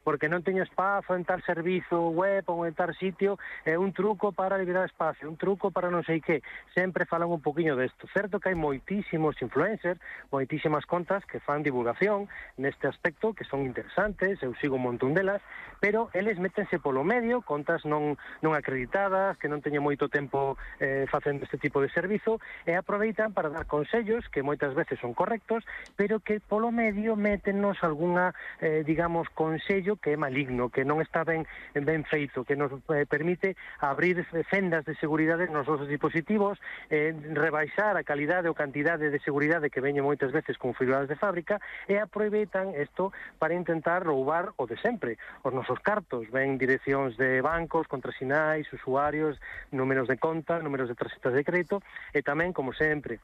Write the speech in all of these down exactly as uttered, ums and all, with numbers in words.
porque non teño espazo en tal servizo web ou en tal sitio, é un truco para liberar espacio, un truco para non sei que. Sempre falan un poquinho desto. Certo que hai moitísimos influencers, moitísimas contas que fan divulgación neste aspecto, que son interesantes, eu sigo un montón delas, pero eles métense polo medio, contas non, non acreditadas, que non teñen moito tempo eh, facendo este tipo de servizo, e aproveitan para dar consellos que moitas veces son correctos, pero que polo medio métenos algunha, eh, digamos, consello que é maligno, que non está ben ben feito, que nos eh, permite abrir fendas de seguridade nos nosos dispositivos, eh, rebaixar a calidade ou cantidade de seguridade que veñen moitas veces configuradas de fábrica, e aproveitan isto para intentar roubar o de sempre, os nosos cartos, ven direccións de bancos, contrasinais, usuarios, números de conta, números de tarxetas de crédito, e tamén, como sempre,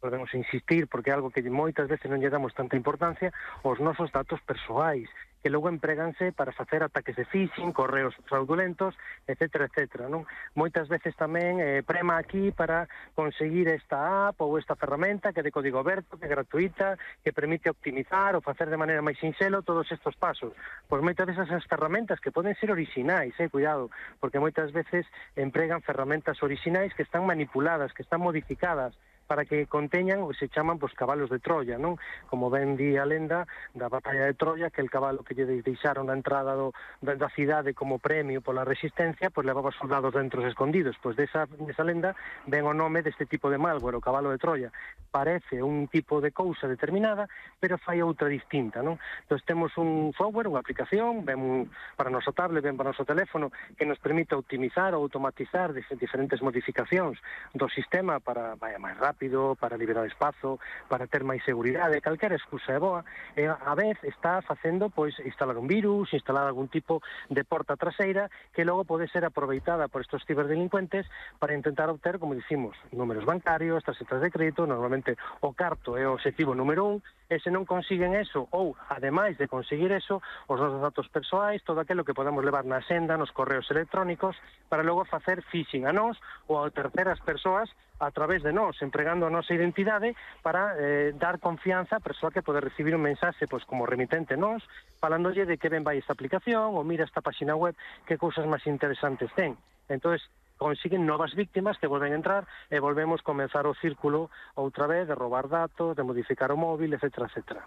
podemos insistir, porque é algo que moitas veces non lle damos tanta importancia, os nosos datos persoais, que logo empreganse para facer ataques de phishing, correos fraudulentos, etcétera, etcétera, non? Moitas veces tamén eh, prema aquí para conseguir esta app ou esta ferramenta que é de código aberto, que é gratuita, que permite optimizar ou facer de maneira máis sinxelo todos estes pasos. Pois moitas veces as ferramentas que poden ser orixinais, eh, cuidado, porque moitas veces empregan ferramentas orixinais que están manipuladas, que están modificadas, para que conteñan o se chaman pues, cabalos de Troya, non? Como ben di a lenda da batalla de Troya, que el cabalo que lle deixaron na entrada do, da, da cidade como premio pola resistencia, pois pues, levaba soldados dentro escondidos. Pois pues, desa, desa lenda ven o nome deste tipo de malware, o cabalo de Troya. Parece un tipo de cousa determinada, pero fai outra distinta, non? Entón temos un software, unha aplicación, ben para o noso tablet, ben para o noso teléfono, que nos permite optimizar ou automatizar diferentes modificacións do sistema para vaya máis rápido, rápido, para liberar espazo, para ter máis seguridade, calquera excusa é boa, e a vez está facendo pois instalar un virus, instalar algún tipo de porta traseira que logo pode ser aproveitada por estos ciberdelincuentes para intentar obter, como dicimos, números bancarios, tarxetas de crédito, normalmente o carto é o obxectivo número un, e se non consiguen eso, ou, ademais de conseguir eso, os nosos datos persoais, todo aquilo que podemos levar na senda, nos correos electrónicos, para logo facer phishing a nós ou a terceras persoas a través de nós, empregando a nosa identidade para eh, dar confianza á persoa que pode recibir un mensaxe pois, como remitente nós, falándolle de que ben vai esta aplicación ou mira esta página web, que cousas máis interesantes ten. Entón, consiguen novas víctimas que volven a entrar e volvemos comenzar o círculo outra vez de roubar datos, de modificar o móvil, etcétera, etcétera.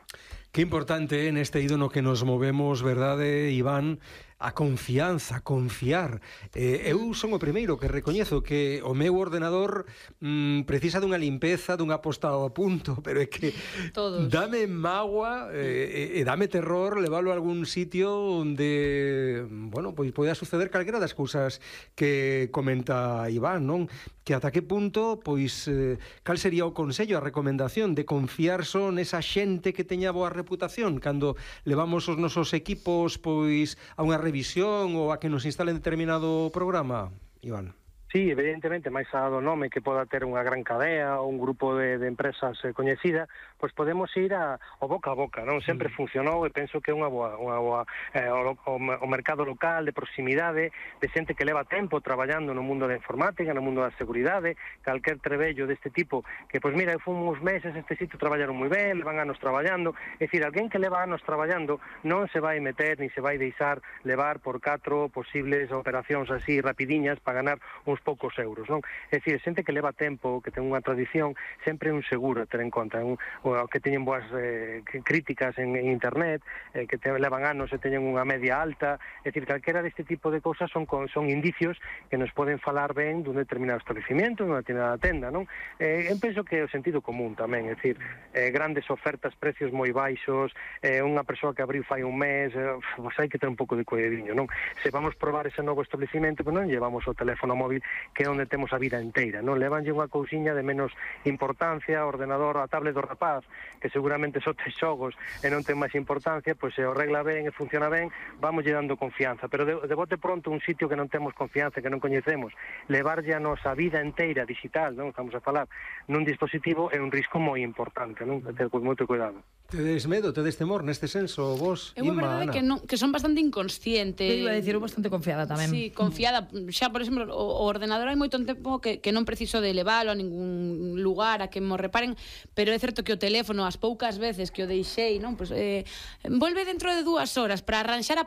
Que importante neste eido no que nos movemos, verdade, Iván, a confianza, confiar. Eh, eu son o primeiro que recoñezo que o meu ordenador mm, precisa dunha limpeza, dunha posta ao punto, pero é que todos. Dame mágoa eh, e dame terror leválo a algún sitio onde, bueno, pois poida suceder calquera das cousas que comenta Iván, non? Que ata que punto, pois, eh, cal sería o consello, a recomendación de confiar só nesa xente que teña boa reputación cando levamos os nosos equipos, pois, a unha revisión ou a que nos instalen determinado programa, Iván? Sí, evidentemente, máis a do nome que poda ter unha gran cadea ou un grupo de, de empresas eh, coñecida, pois podemos ir a, ao boca a boca, non? Sempre mm. funcionou e penso que é unha boa, unha boa eh, o, o, o mercado local de proximidade, de xente que leva tempo traballando no mundo da informática, no mundo da seguridade, calquer trebello deste tipo, que, pois mira, eu fui uns meses este sitio traballaron moi ben, levan anos traballando, é dicir, alguén que leva anos traballando non se vai meter, ni se vai deixar levar por catro posibles operacións así rapidiñas para ganar uns poucos euros, non? É dicir, xente que leva tempo, que ten unha tradición, sempre é un seguro a ter en conta, un, o que teñen boas eh, críticas en, en internet, eh, que te levan anos e teñen unha media alta, é dicir, calquera deste tipo de cousas son, son indicios que nos poden falar ben dun determinado establecimiento, dunha determinada tenda, non? Eh, eu penso que é o sentido común tamén, é dicir, eh, grandes ofertas, precios moi baixos, eh, unha persoa que abriu fai un mes, eh, pues hai que ter un pouco de cuidadiño, non? Se vamos probar ese novo establecimento, pues non llevamos o teléfono móvil que é onde temos a vida inteira, non? Levanlle unha cousiña de menos importancia, o ordenador, a tablet do rapaz, que seguramente só ten xogos e non ten máis importancia, pois se o regla ben e funciona ben, vamos lle dando confianza, pero de, de bote pronto un sitio que non temos confianza, que non coñecemos, levarlle a nosa vida inteira digital, non? Estamos a falar nun dispositivo, é un risco moi importante, non? Ter moito cuidado. Tedes medo, tedes temor neste senso, vos, Inma, Ana? É unha verdade que, non, que son bastante inconsciente. Eu iba a dicir, eu bastante confiada tamén. Sí, confiada. Xa, por exemplo, o, o ordenador hai moito tempo que, que non preciso de leválo a ningún lugar a que mo reparen, pero é certo que o teléfono, as poucas veces que o deixei, non? Pues, eh, volve dentro de dúas horas para arranxar a